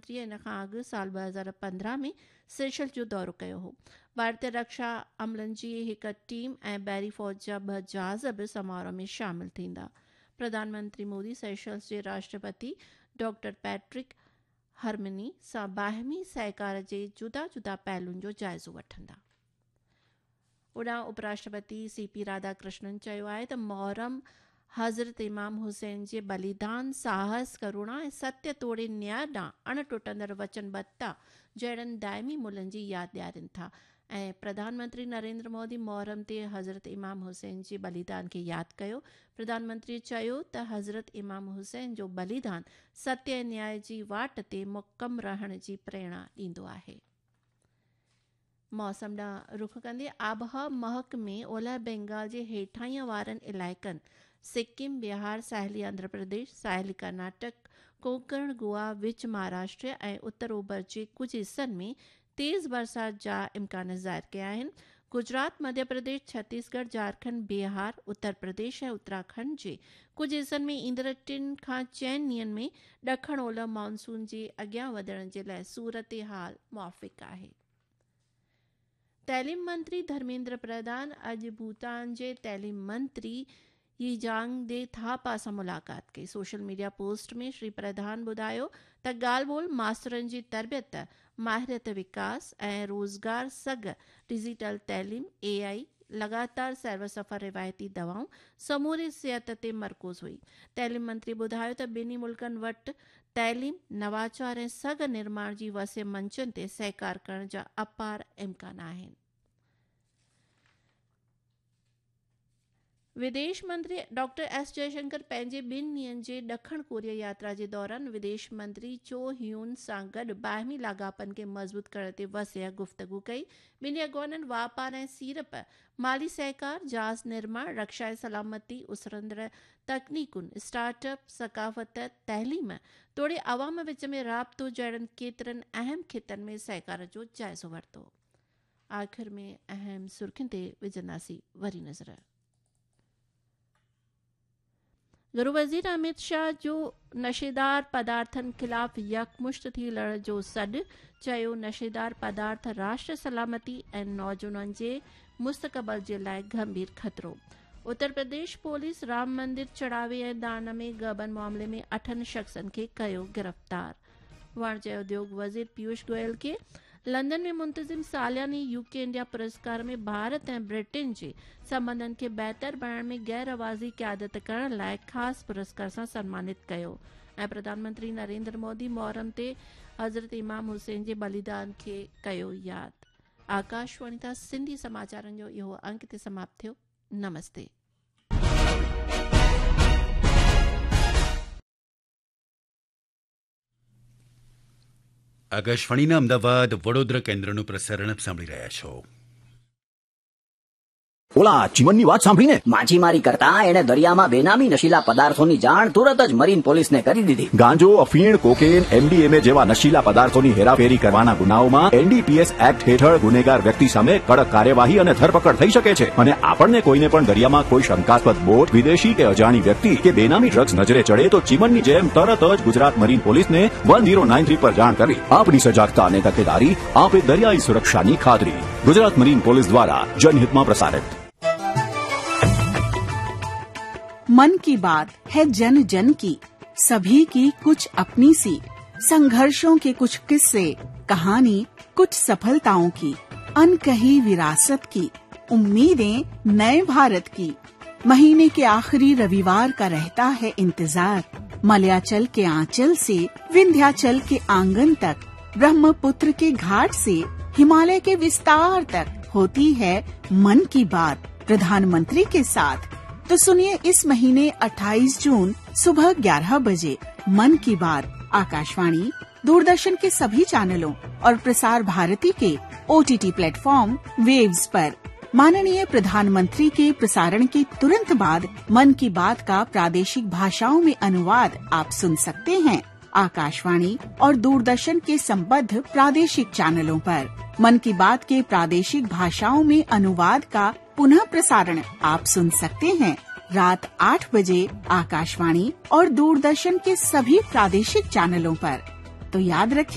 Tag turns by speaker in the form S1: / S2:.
S1: منتري ان کان اڳ سال 2015 ۾ سيشلز جو دورو ڪيو هو. ڀارتي رڪشا عملن جي هڪ ٽيم ۽ بحري فوج جا ٻه جهاز به سماروهه ۾ شامل ٿيندا. پرڌان منتري مودي سيشلز جي راشٽرپتي ڊاڪٽر پيٽرڪ هرمني سان باهمي سهڪار جي جدا جدا پهلوئن جو جائزو وٺندا. هوڏانهن اپراشٽرپتي سي پي راڌاڪرشنن چيو آهي ته محرم حضرت امام حسين جي بليدان، ساهس، ڪروڻا ۽ ستيه توڙي نياء ڏانهن اڻ ٽٽندڙ وچنبڌتا جهڙن دائمي ملهن جي ياد ڏيارين ٿا ۽ پرڌان منتري نريندر مودي محرم تي حضرت امام حسين جي بليدان کي ياد ڪيو. پرڌان منتري چيو ته حضرت امام حسين جو بليدان ستيه ۽ نياء جي واٽ تي محڪم رهڻ جي پريرڻا ڏيندو آهي. موسم ڏانهن رخ ڪندي آبهوا محڪمي اولهه بينگال جي هيٺاهين وارن علائقن، سڪم، بهار، ساحلي آنڌرا پرديش، ساحلي ڪرناٽڪ، ڪونڪڻ، گوا، وچ مهاراشٽر ۽ اتر اوڀر جي ڪجهه حصن ۾ تيز برسات جا امڪان ظاهر ڪيا آهن. گجرات، مڌيه پرديش، ڇتيسڳڙهه، جهارکنڊ، بهار، اتر پرديش ۽ اتراکنڊ جي ڪجهه حصن ۾ ايندڙ ٽن کان چئن ڏينهن ۾ ڏکڻ اولهه مانسون جي اڳيان وڌڻ جي لاء صورتحال موافق آهي. تعليم منتري ڌرميندر پرڌان اڄ ڀوتان جي تعليم منتري يي جانگ the Thapa سان ملاقات ڪئي. سوشل ميڊيا پوسٽ ۾ شري پرڌان ٻڌايو ته ڳالهه ٻولهه ماسترن جي تربيت، ماهريت وڪاس ۽ روزگار سگهه، ڊجيٽل تعليم، اي آء، لڳاتار سير و سفر روايتي دوائون، سموري صحت تي مرڪوز هئي. تعليم منتري ٻڌايو ته ٻنهي ملڪن وٽ تعليم، نواچار ۽ سگهه نرماڻ جي وسيع منچن تي سهڪار ڪرڻ جا اپار امڪان آهن. وديش منتري ڊاڪٽر ايس جئشنڪر پنهنجي ٻن ڏينهن جي ڏکڻ ڪوريا ياترا جي دوران وديش منتري چو هيون سان گڏ باهمي لاڳاپن کي مضبوط ڪرڻ تي وسيع گفتگو ڪئي. ٻنهي اڳواڻن واپار ۽ سيڙپ، مالي سهڪار، جهاز نرماڻ، رڪشا ۽ سلامتي، اسرندڙ تڪنيڪن، اسٽارٽ اپ، ثقافت، تعليم توڙي عوام وچ ۾ رابطو جهڙن ڪيترن اهم خطن ۾ سهڪار جو جائزو ورتو. آخر ۾ اهم سرخين تي وجهنداسين وري نظر. گهرو وزير اميت شاهه جو نشيدار پدارٿن خلاف يڪمشت ٿي لڙڻ جو سڏ، چيو نشيدار پدارٿ راشٽر سلامتي ۽ نوجوانن جي مستقبل جي لاء گنڀير خطرو. اتر پرديش پوليس رام مندر چڙهاوي ۽ دان ۾ غبن معاملي ۾ اٺن شخصن کي ڪيو گرفتار. واڻجيه اديوگ وزير پيوش گويل کي لندن ۾ منتظم سالياني يو ڪي انڊيا پرسڪار ۾ ڀارت ۽ برٽن جي سنٻنڌن کي بهتر بڻائڻ ۾ غير رواجي قيادت ڪرڻ لاء خاص پرسڪار سان سنمانت ڪيو ۽ پرڌان منتري نريندر مودي محرم تي حضرت امام حسين جي بليدان کي ڪيو ياد. آڪاشواڻي تان سنڌي سماچارن جو اهو انڪ هتي سماپت ٿيو. نمستي.
S2: આકાશવાણીના અમદાવાદ વડોદરા કેન્દ્રનું પ્રસારણ આપ સાંભળી રહ્યા છો.
S3: ઓલા ચીમનની વાત સાંભળીને
S4: માછીમારી કરતા એણે દરિયામાં બેનામી નશીલા પદાર્થોની જાણ તુરત જ મરીન પોલીસને કરી દીધી.
S3: ગાંજો, અફીણ, કોકેન, એમડીએમએ જેવા નશીલા પદાર્થોની હેરાફેરી કરવાના ગુનાઓમાં એનડીપીએસ એક્ટ હેઠળ ગુનેગાર વ્યક્તિ સામે કડક કાર્યવાહી અને ધરપકડ થઈ શકે છે. અને આપણને કોઈને પણ દરિયામાં કોઈ શંકાસ્પદ બોટ, વિદેશી કે અજાણી વ્યક્તિ કે બેનામી ડ્રગ્સ નજરે ચડે તો ચીમનની જેમ તરત જ ગુજરાત મરીન પોલીસને 1093 પર જાણ કરવી. આપણી સજાગતા અને તકેદારી આપે દરિયાઈ સુરક્ષાની ખાતરી. ગુજરાત મરીન પોલીસ દ્વારા જનહિતમાં પ્રસારિત.
S5: मन की बात है जन जन की, सभी की कुछ अपनी सी, संघर्षों के कुछ किस्से, कहानी कुछ सफलताओं की, अनकही विरासत की, उम्मीदें नए भारत की। महीने के आखिरी रविवार का रहता है इंतजार। मलयाचल के आंचल से विंध्याचल के आंगन तक, ब्रह्मपुत्र के घाट से हिमालय के विस्तार तक होती है मन की बात प्रधानमंत्री के साथ। तो सुनिए इस महीने 28 जून सुबह 11 बजे मन की बात आकाशवाणी, दूरदर्शन के सभी चैनलों और प्रसार भारती के ओटीटी प्लेटफॉर्म वेव्स पर। माननीय प्रधानमंत्री के प्रसारण के तुरंत बाद मन की बात का प्रादेशिक भाषाओं में अनुवाद आप सुन सकते हैं आकाशवाणी और दूरदर्शन के संबद्ध प्रादेशिक चैनलों पर। मन की बात के प्रादेशिक भाषाओं में अनुवाद का पुनः प्रसारण आप सुन सकते हैं रात 8 बजे आकाशवाणी और दूरदर्शन के सभी प्रादेशिक चैनलों पर। तो याद रखिए।